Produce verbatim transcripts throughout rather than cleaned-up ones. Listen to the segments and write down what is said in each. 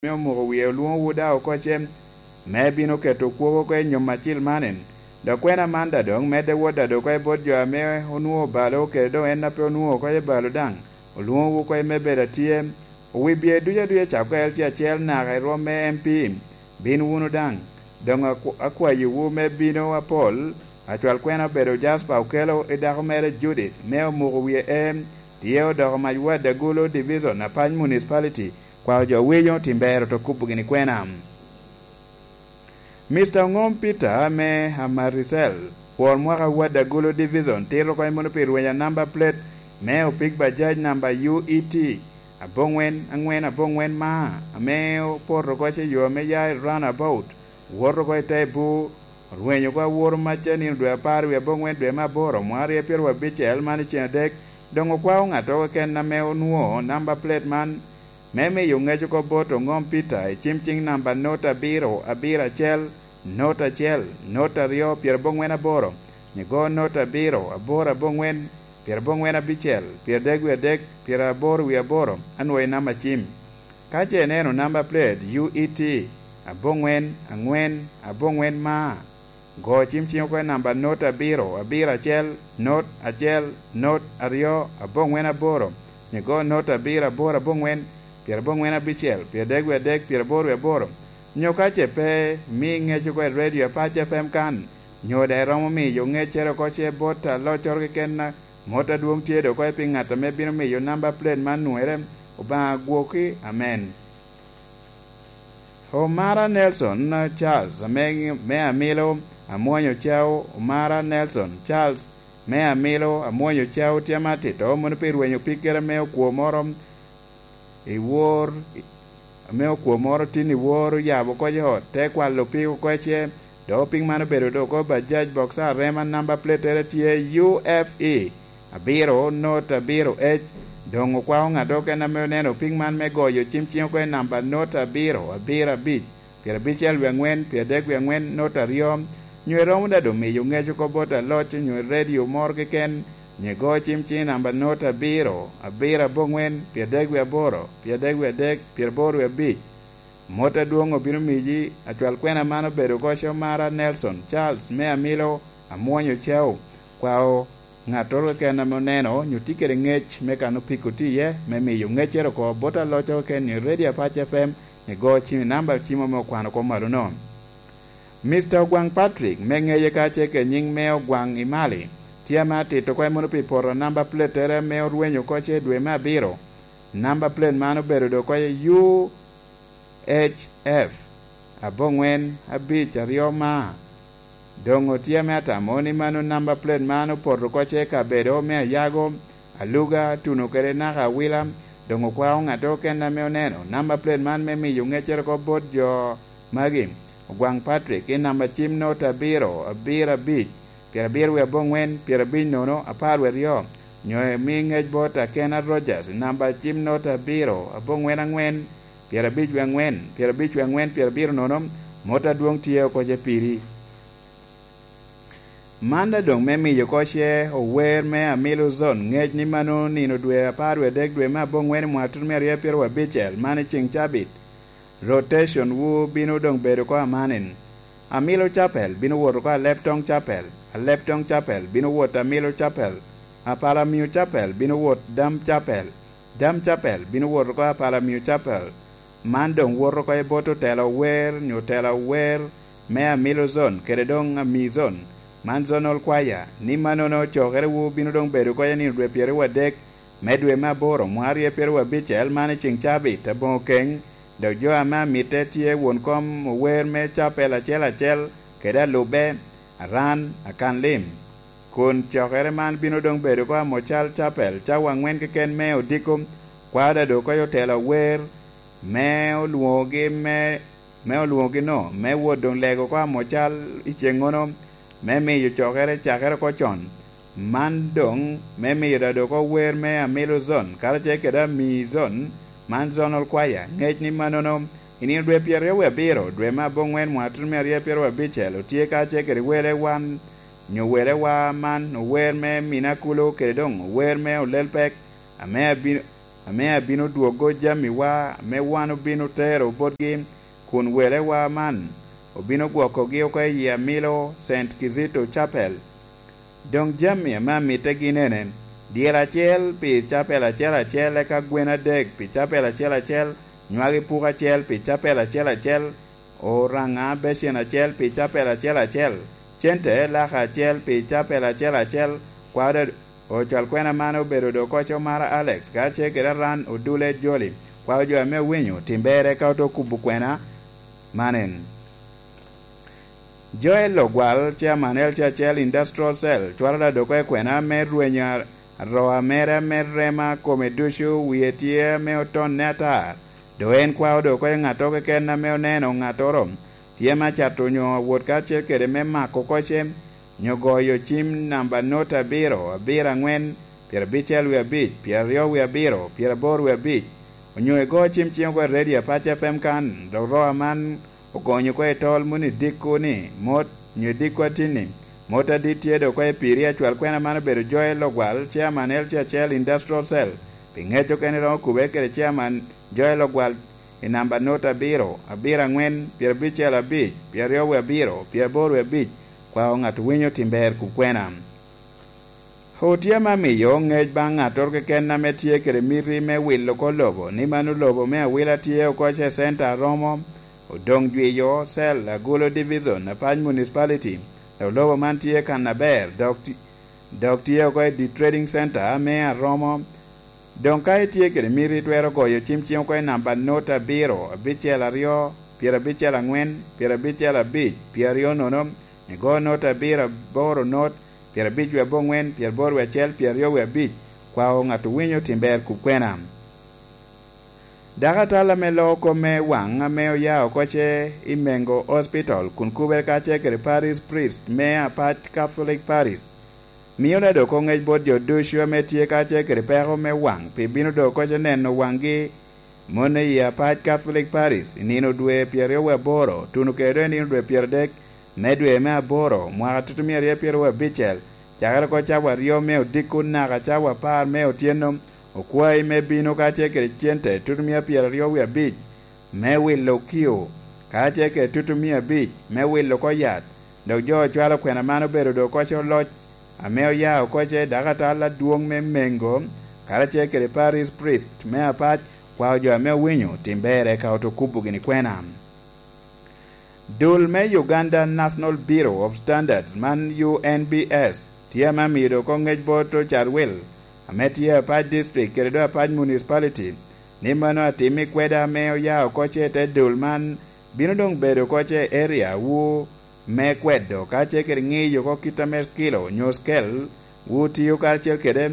ame omuko wie olwoŋowu daŋ oko ce, me bino keto kwogo oko i nyom acil man en. Dok kwena man daŋ doŋ medde wot daŋ doŋ oko i bot jo ame onwoŋo obalo kede doŋ en a pe onwoŋo oko i balo daŋ, olwoŋowu oko i me bedo atye. Owibie ducu aduca cako L C acel naka i rwom me M P, bin wunu daŋ. Doŋ akw-, akwayowu me bino apol, acwal kwena obedo Jasper Okello i dako mere Judith, me omuko wie em, tye odoko mac Wad Agulu Division, Apac Municipality, kwao jo winyo tim ber oto kubo gini kwena. Mister Oŋom Peter me Amarisel, kwor mwaka Wad Agulu Division, tito kony mono pi rwenya namba plate me opik bajaj namba U E T aboŋwen aŋwen aboŋwen ma, ame opoto oko ce yo ame ya i roundabout, woto oko i te bur, orwenyo oko aworo macca nino dwe apar wie aboŋwen dwe me aboro, mwaka aryo pyeraryo abicel man i ceng adek, doŋ okwao ŋat oko keken ame onwoŋo namba plate man, me miyo ŋec oko bot Oŋom Peter i cim ciŋ namba not abiro abiro acel, not acel, not aryo, pyeraboŋwen aboro, nyigo not abiro, aboro aboŋwen, pyeraboŋwen abicel, pyeradek wie adek, pyeraboro wie aboro, anwoŋo i namba cim. Ka ce ineno namba plate U E T aboŋwen aŋwen aboŋwen ma, go cim ciŋ oko i namba not abiro abiro acel, not acel, not aryo, aboŋwen aboro, nyigo not abiro aboro aboŋwen, pyeraboŋwen abicel, pyeradek wie adek, pyeraboro wie aboro, nyo ka ce pe, mi ŋec oko i redio Apac F M kan, nyo daŋ iromo miyo ŋeccere oko ce bot aloccoro keken, mot adwoŋ tye doŋ oko i pi ŋat ame bino miyo namba plate man nwere. Obaŋa gwokki. Amen. Omara Nelson Charles ame, me Amilo Amwonyo Cao, Omara Nelson Charles me Amilo Amwonyo Cao tye ame atito mono pi rwenyo pikkere me okwo moro i wor, ame okwo moro tin i wor oyabo oko i ot, te kwalo pig oko ice, dok pig man obedo dok oko bajaj boksa arema namba platere tye U F E abiro not abiro H. Doŋ okwao ŋat okene ame oneno pig man me goyo cim ciŋ oko i namba not abiro abiro abic, pyerabicel wie aŋwen, pyeradek wie aŋwen, not aryo, nyo iromo daŋ doŋ miyo ŋec oko bot aloc onyo i redio moro keken, nyo igo cim ciŋ i namba not abiro, abiro aboŋwen, pyeradek wie aboro, pyeradek wie adek, pyeraboro wie abic. Mot adwoŋ obino miyi. Acwal kwena man obedo oko Omara Nelson Charles me Amilo Amwonyo Cao, kwao ŋattoro keken ame oneno onyo tye kede ŋec me kan opiko tye iye, me miyo ŋeccere oko bot aloc oko keken i Radio Apac F M, igo cim i namba cim ame okwano oko malo-nu. Mister Ogwaŋ Patrick, me ŋeye ka ce ke nyiŋ me Ogwaŋ i Mali, tye ame atito oko mono pi poto namba platere ame orwenyo oko ce i dwe me abiro. Namba plate man obedo doŋ oko i U H F aboŋwen abic aryo ma. Doŋ otye ame atamo ni mano namba plate man opoto oko ce i kabedo me Ayago, Aluga, tuno kede naka Awila. Doŋ okwao ŋatte okene ame oneno namba plate man me miyo ŋeccere oko bot jo magi. Ogwaŋ Patrick i namba cim not abiro, abiro abic, pyerabiro wie aboŋwen, pyerabic nono, apar wie aryo, nyo imi ŋec bot Akena Rogers i namba cim not abiro, aboŋwen aŋwen, pyerabic wie aŋwen, pyerabic wie aŋwen, pyerabiro nono, mot adwoŋ tye oko ce piri. Man daŋ doŋ me miyo oko ce ower me Amilo Zone ŋec ni mano nino dwe apar wie adek dwe me aboŋwen i mwaka tutumia aryo pyeraryo abicel, man i ceŋ cabit. Rotation wu bino doŋ bedo oko amanen. Amilo Chapel bino wot oko Aleptong Chapel, Aleptong Chapel bino wot Amilo Chapel, Apalamio Chapel bino wot Dam Chapel, Dam Chapel bino wot oko Apalamio Chapel. Man doŋ wot oko i bot otela ower, nyo otela ower me Amilo Zone kede doŋ Ami Zone, man Zonal Choir, ni mannono cokerewu bino doŋ bedo oko i nino dwe pyeraryo adek me dwe me aboro, mwaka aryo pyeraryo abicel, man i ceŋ cabit aboŋo keny, dok jo ame amitte tye won kom ower me Chapel acel acel kede alubbe, Aran, Akan Lim. Kun cokere man bino doŋ bedo oko Amocal Chapel, cawa aŋwen keken me odiko, kwao daŋ doŋ oko i otela ower, me olwoŋogi me, me olwoŋogi-nu, me wot doŋ lego oko Amocal i ceŋŋono, me miyo cokere cakere oko con. Man doŋ me miyo daŋ doŋ oko wer me Amilo Zone, karacel kede Ami Zone, man Zonal Choir, ŋec ni mannono, i nino dwe pyeraryo wie abiro, dwe me aboŋwen, mwaka tutumia aryo pyeraryo abicel, otye karacel kede wele wan, nyo wele wa man, ower me Mina Kulo, kede doŋ ower me Olel Pek, ame abino, ame abino dwoggo jamiwa ame wan obino tero botgi, kun welewa man obino gwokogi oko i amilo Saint Kizito Chapel. Doŋ jami ame amitte gin ene: dyel acel pi capel acel acel, eka gwen adek pi capel acel acel, nywagi puko acel pi capel acel acel, oraŋa becen acel pi capel acel acel, cente laka acel pi capel acel acel. Kwaro ocwal kwena man obedo doŋ koc Omara Alex, ka ce kede Aran Odule Joli. Kwaro jo ame owinyo, tim ber eka oto kubo kwena man en. Joel Ogwal, Chairman L C H L Industrial Cell, cwalo da doŋ oko i kwena me rwenyo a-, aroa mere ame rema kome ducu wie tye ame otonne atar. Doŋ en kwao doŋ oko i ŋatto keken ame oneno ŋattoro tye me cato onyo awot karacel kede me mako kocce, nyo goyo cim namba not abiro, abiro aŋwen, pyerabicel wie abic, pyeraryo wie abiro, pyeraboro wie abic, onyo igo cim ciŋ oko i redio Apac F M kan, dok roa man ogonyo oko i tol moni dikko ni, mot, nyo dikko atinni, mot adit tye doŋ oko i piri. Acwal kwena man obedo Joel Ogwal, Chairman L C H L Industrial Cell, pi ŋec okene romo kubere kede Chairman Joel Ogwal i namba not abiro, abiro aŋwen, pyerabicel abic, pyeraryo wie abiro, pyeraboro wie abic. Kwao ŋat owinyo tim ber kub kwena. Otye ame amiyo ŋec baŋ ŋattoro keken ame tye kede miti me wilo oko lobo, ni mano lobo me awila tye oko ce centa aromo, Odoŋ Jwiyo, Cell, Agulu Division, Apac Municipality, dok lobo man tye kan aber, dok ti-, dok tye oko i The Trading Center me Aromo. Doŋ ka itye kede miti, itwero goyo cim ciŋ oko i namba not abiro, abicel aryo, pyerabicel aŋwen, pyerabicel abic, pyeraryo nono, igo not abiro aboro not, pyerabic wie aboŋwen, pyeraboro wie acel, pyeraryo wie abic. Kwao ŋat owinyo tim ber kub kwena. Dakatal ame loo kop me waŋ ame oya oko ce i Mengo Hospital kun kubere kacel kede Parish Priest me Apac Catholic Parish, mio da doŋ oko ŋec bot jo ducu ame tye kacel kede peko me waŋ pi bino doŋ oko ce neno waŋgi. Mone i Apac Catholic Parish i nino dwe pyeraryo wie aboro, tuno kede doŋ i nino dwe pyeradek me dwe me aboro, mwaka tutumia aryo pyeraryo wie abicel, cakere oko cawa aryo me odiko naka cawa apar me otyeno, okwayi me bino kacel kede cente tutumia pyeraryo wie abic me wilo okio, kacel kede tutumia abic me wilo oko yat. Dok jo ocwalo kwena man obedo doŋ oko ce oloc ame oya oko ce dakatal adwoŋ me Mengo, karacel kede Parish Priest me Apac, kwao jo ame owinyo tim ber eka oto kubo gini kwena. Dul me Uganda National Bureau of Standards, man U N B S, tye ame amiyo doŋ oko ŋec bot Ocarwil, ame tye Apac District kede doŋ Apac Municipality, ni mano atim i kweda ame oya oko ce i te dul man bino doŋ bedo oko ce i area wu me kwedo, kacel kede ŋiyo oko kit ame kilo onyo scale wu tio karacel kede.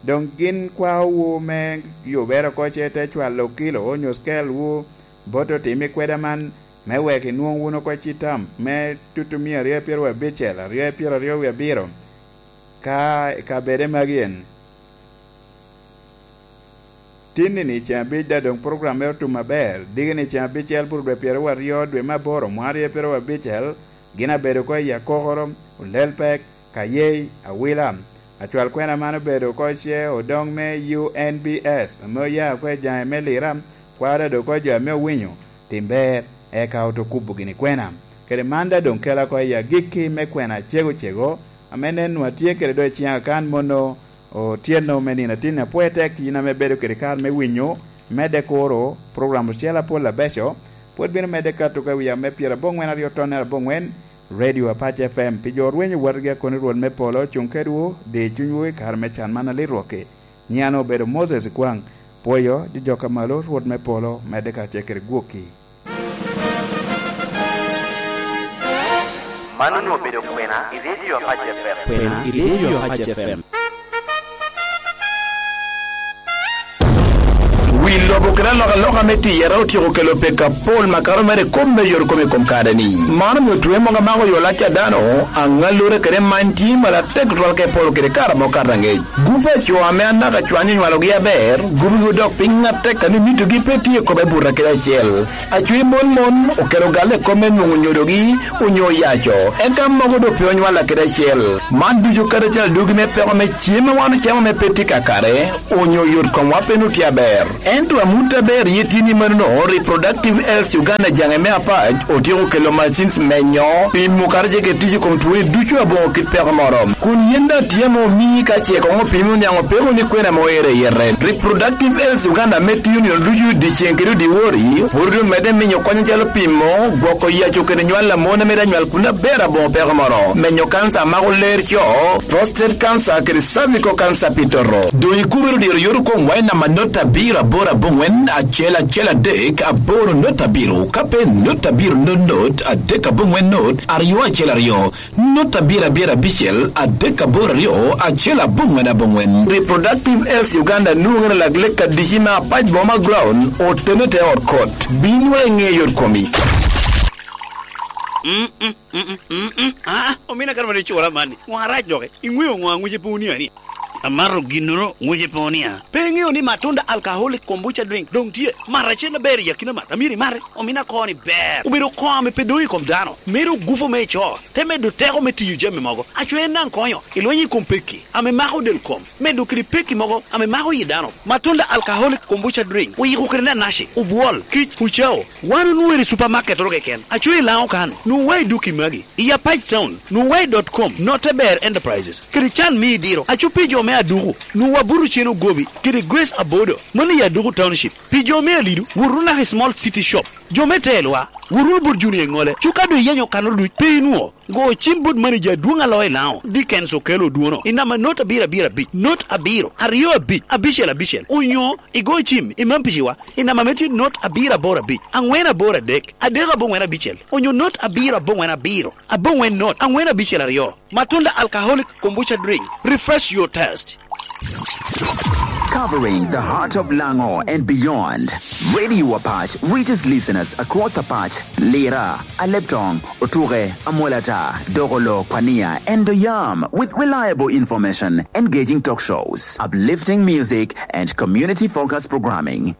Doŋ gin kwao wu me yubere oko ce i te cwalo kilo onyo scale wu bot otim i kweda man, me wek inwoŋ wun oko citam me tutumia aryo pyeraryo abicel, aryo pyeraryo wie abiro, ka i kabede magi en. Tinni-ni ceŋ abic daŋ doŋ program mere otum aber, diki-ni ceŋ abicel bur dwe pyeraryo aryo dwe me aboro mwaka aryo pyeraryo abicel, gin abedo oko i Akokoro, Olelpek, Kayei, Awila. Acwal kwena man obedo oko ce odoŋ me U N B S, ame oya oko i jaŋe me Lira, kwao daŋ doŋ oko jo ame owinyo tim ber, eka oto kubo gini kwena. Kede man daŋ doŋ kela oko i agikki me kwena acego cego, ame nen nwa tye kede doŋ i ciŋa kan mono otyeno me nino atin apwoye tek, yin ame ibedo kede kare me winyo, medde kuro, program ocele apol abeco, pwod bino medde kato ka wi ame pyerabongwen aryo tonnere abongwen, Radio Apac F M, pi jo rwenyo watgi akoni Rwot me polo, cuŋ kedwu, di cunywu i kare me can man alit rwokki. Nyiŋa obedo Moses Ikwaŋ, pwoyo, di jok a malo, Rwot me polo, medde kacel kede gwokki. Man onwoŋo obedo kwena i Radio Apac F M. Kwena i Radio Apac F M. Pi lobo kede alokaloka me tiyere otyeko kelo peko apol makato mere i kop me yot kome i kom kare-ni. Man omio twe mogo amako yo lac a dano, aŋallure kede many tye malo atek tutwal ka iporo kede kare amo kato aŋec. Gupe a co ame anaka cwany onywalogi aber, gubogi odok piny atek a ni mitogi pe tye i kome buto kede acel. Acwe mon mon okelo galle i kop me nwoŋo nyodogi onyo oyaco, eka mogo doŋ pe onywalla kede acel. Man ducu kadi acel adugi me peko me cem a wan ocamo ame pe tye kakare, onyo yot komwa pe nut tye aber. Ento amut aber ye tye ni manono, Reproductive Health Uganda jaŋe me apac otyeko kelo machines menyo, pimo kadi ce kede tic i kom twoni ducu aboŋo kit peko moro. Kun yin daŋ tye ame omii ka ce koŋ opimi oniaŋ opeko ni kwena ame oero i yete. Reproductive Health Uganda ame tiyo nino ducu dyeceŋ kede dyewor, pwod omedde miyo kony acalo pimo, gwoko yaco kede nywal a mon ame daŋ nywal kun aber aboŋo peko moro, menyo kanca a mako ler co, prostate cancer kede cervical cancer pi toto. Doŋ ikubere diro yot okoŋwa i namba not abiro aboro aboŋwen acel acel adek aboro not abiro, ka pe not abiro not not adek aboŋwen not aryo acel aryo. Not abiro abiro abicel adek aboro aryo acel aboŋwen aboŋwen. Reproductive Health Uganda nwoŋere lak lek adici me apac boma ground otene te ot kot. Binwa i ŋe yot komi. Mm, mm, mm, mm, mm, mm. Ah, omina kare mane icura mani. Ŋo arac doki? Iŋweo ŋo aŋwice pe wuni ani? Amato ginnoro ŋwice pe wuni a? Pe iŋeo ni Matunda Alcoholic Kombucha Drink doŋ tye? Mat acel aber i akina mat. Amiro imate. Omina koni ber. Obedo koŋ ame pe doŋ i kom dano. Mero gupo me ico. Te medo teko me tiyo jami mogo. Aco en daŋ konyo. Ilwenyo i kom pekki ame mako del kom. Medo kede pekki mogo ame mako yi dano. Matunda Alcoholic Kombucha Drink. Oyiko kede nanaci, obwol, kic, ucao. Wan onwoŋo i supermarket oro keken. Aco i Laŋo kan. Nwoŋo wa i dukki magi. I Apac Town. Nwoŋo wa i dot com. Note Ber Enterprises. Kede can me idiro. Aco pi jo me Aduku. Nwoŋo wa buto cen ogobi. Kede Grace Abodo. Mano i Aduku Township. Pi jo me Alidu. Wot wunu naka i Small City Shop. Jo me Telwa. Wot wunu bot Junior Eŋole. Cuka doŋ iyenyo kanoro duc. Pe inwoŋo. Go cim bot manager adwoŋ a loo i Laŋo, Dickens Okello Odwono, i namba not abiro abiro abic, not abiro, aryo abic, abicel abicel, onyo igo cim i Mampiciwa i namba ame tye not abiro aboro abic, aŋwen aboro adek, adek aboŋwen abicel, onyo not abiro aboŋwen abiro, aboŋwen not, aŋwen abicel aryo. Matunda Alcoholic Kombucha Drink, refresh your taste. Covering the heart of Lango and beyond, Radio Apac reaches listeners across Apac, Lira, Aleptong, Otuke, Amolata, Dogolo, Kwania, and Doyam with reliable information, engaging talk shows, uplifting music, and community-focused programming.